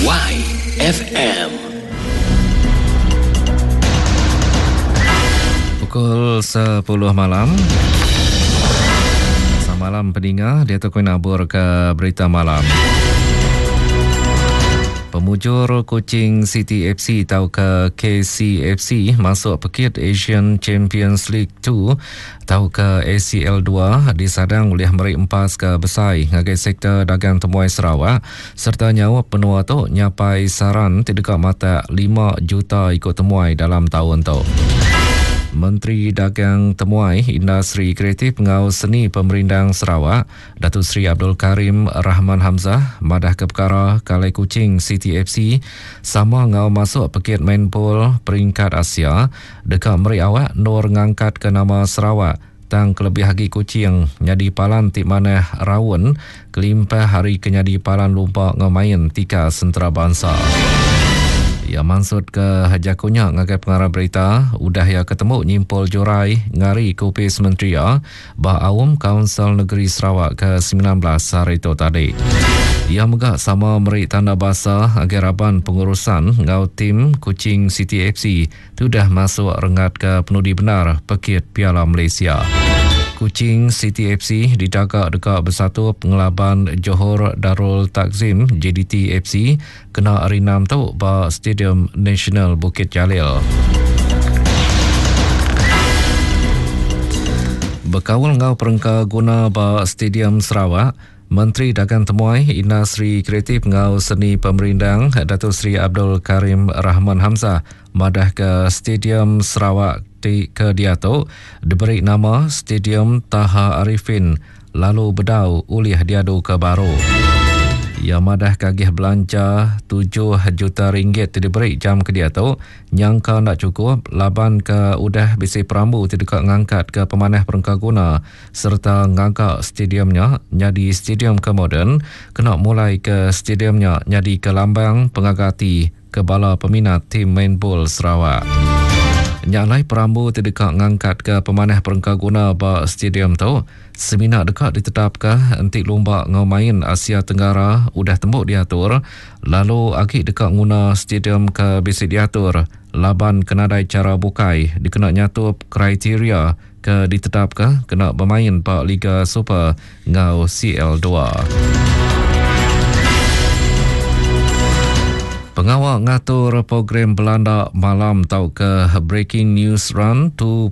YFM. Pukul 10 malam. Samalam peninga dia tu nabur ke berita malam. Pemujur Kuching City FC tauka KCFC masuk pekit Asian Champions League 2 tauka ACL 2 disadang ulih meri empas ke besai ngagai sektor dagang temuai Sarawak sereta nyaup menua tu nyapai saran ti deka matak 5 juta iku temuai dalam taun tu. Menteri Dagang Temuai, Industri Kreatif enggau Seni Pemerindang Sarawak, Datuk Seri Abdul Karim Rahman Hamzah madahka pekara Kalai Kuching City FC sama enggau masuk pekit main bol peringkat Asia deka meri awak endur ngangkatka nama Sarawak tang kelebih agi Kuching nyadi palan ti manah raun kelimpah ari ke nyadi palan lumba enggau main tikas entarabansa. Iya mansutka jaku nya ngagai pengarang berita udah iya ke tembu nyimpul jurai ngarika opis menteri iya ba aum Kaunsil Negeri Sarawak ke 19 sehari tu tadi. Iya mega sama meri tanda basa ngagai raban pengurusan enggau tim Kuching City FC ti udah masuk renggat ke penudi bendar pekit Piala Malaysia. Kuching City FC didaga deka besatup ngelaban Johor Darul Takzim JDT FC kena hari Enam tu ba Stadium Nasional Bukit Jalil. Bekaul enggau perengka guna ba Stadium Sarawak, Menteri Dagang Temuai, Industri Kreatif enggau Seni Pemerindang Datuk Seri Abdul Karim Rahman Hamzah madahka Stadium Sarawak ti ke diatu diberi nama Stadium Taha Arifin lalu bedau ulih diaduka baru. Iya madahka agih belanja tujuh juta ringgit ti diberi jam ke diatu nyangka enda chukup laban ke udah bisi perambu ti deka ngangkatka pemanah perengka guna sereta ngaga stadium nya nyadi stadium ke moden kena mulaika stadium nya nyadika lambang pengaga ati ke bala peminat tim main bol Sarawak. Nya alai perambu ti deka ngangkatka pemanah perengka guna ba stadium tu semina deka ditetapka enti lumba enggau main Asia Tenggara udah tembu diatur lalu agi deka nguna stadium ke bisi diatur laban ke nadai chara bukai dikena nyatup kriteria ke ditetapka kena bemain ba Liga Super enggau CL2. Pengawa ngatur program belanda malam tauka Breaking News Run 2.0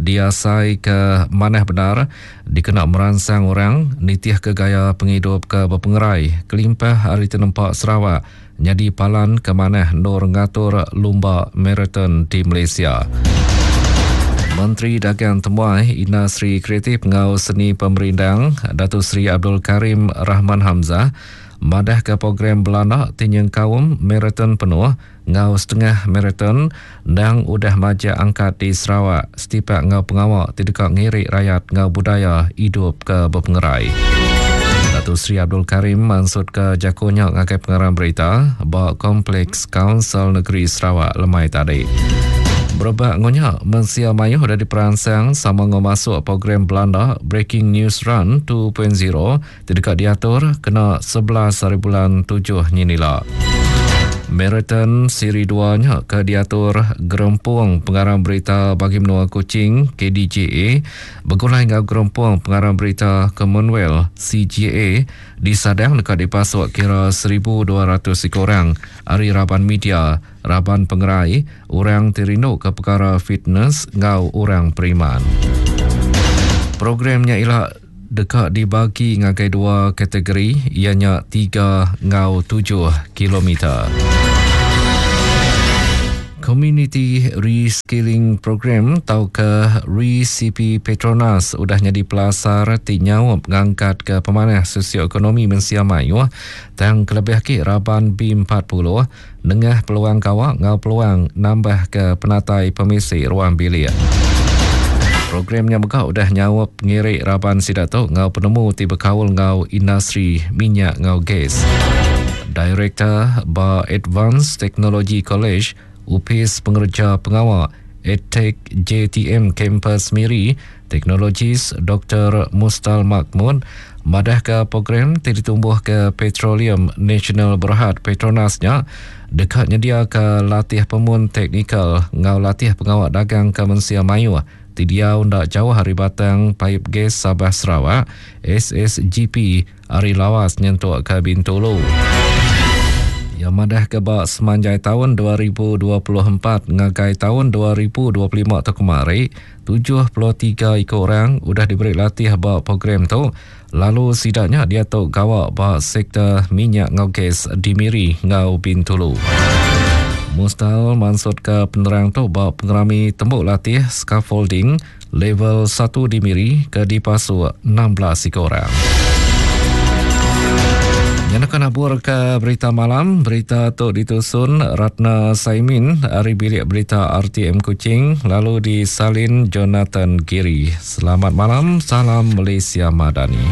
diasaika manah bendar dikena meransang orang nitihka gaya pengidup ke bepengerai kelimpah ari tenempa Sarawak nyadi palan ke manah endur ngatur lumba maraton di Malaysia. Menteri Dagang Temuai, Industri Kreatif enggau Seni Pemerindang, Datuk Seri Abdul Karim Rahman Hamzah madahka program belanda ti nyengkaum maraton penuh enggau setengah maraton endang udah majak angkat di Sarawak setipak enggau pengawa ti deka ngiri rayat enggau budaya idup ke bepengerai. Datuk Seri Abdul Karim mansutka jaku nya ngagai pengarang berita ba Kompleks Kaunsil Negeri Sarawak lemai tadi. Berebak enggau nya, mensia mayuh udah diperansang sama enggau masuk program belanda Breaking News Run 2.0 ti deka diatur kena 11 hari bulan tujuh nyin ila. Maraton Siri dua nya ke diatur Gerempung Pengarang Berita Bagi Menua Kuching, KDJA, begulai enggau Gerempung Pengarang Berita Commonwealth, CGA, disadang deka dipasuk kira 1,200 iku orang ari raban media, raban pengerai, orang ti rinduka pekara fitness enggau orang periman. Program nya ila deka dibagi ngagai dua kategori iya nya tiga enggau tujuh kilometer. Community Reskilling Program tauka ReCP Petronas udah nyadi pelasar ti nyaup ngangkatka pemanah sosioekonomi mensia mayuh tang kelebih agi raban B40 nengah peluang gawa enggau peluang nambahka penatai pemisi ruang bilik. Program nya mega udah nyaup ngiri raban sida tu enggau penemu ti bekaul enggau industri minyak enggau gas. Direktor ba Advanced Technology College, Opis Pengereja Pengawa ADTEC JTM Kampus Miri, Teknologis Doktor Mustal Makmud. madahka program ti ditumbuhka Petroleum National Berhad, Petronas, nya deka nyediaka latih pemun teknikal enggau latih pengawa dagang ke mensia mayuh ti diau enda jauh ari batang paip gas Sabah Sarawak, SSGP, ari Lawas nyentuk ke Bintulu. Iya madahka ba semanjai taun 2024 ngagai taun 2025 tu kemari, 73 iku orang udah diberi latih ba program tu lalu sida nya diatu gawa ba sektor minyak enggau gas di Miri enggau Bintulu. Mustal mansutka penerang tu ba pengerami tembu latih scaffolding Level satu di Miri ke dipasuk 16 iku orang. Nya naka nabur ke berita malam. Berita tu ditusun Ratna Saimin ari bilik berita RTM Kuching lalu disalin Jonathan Giri. Selamat malam, salam Malaysia Madani.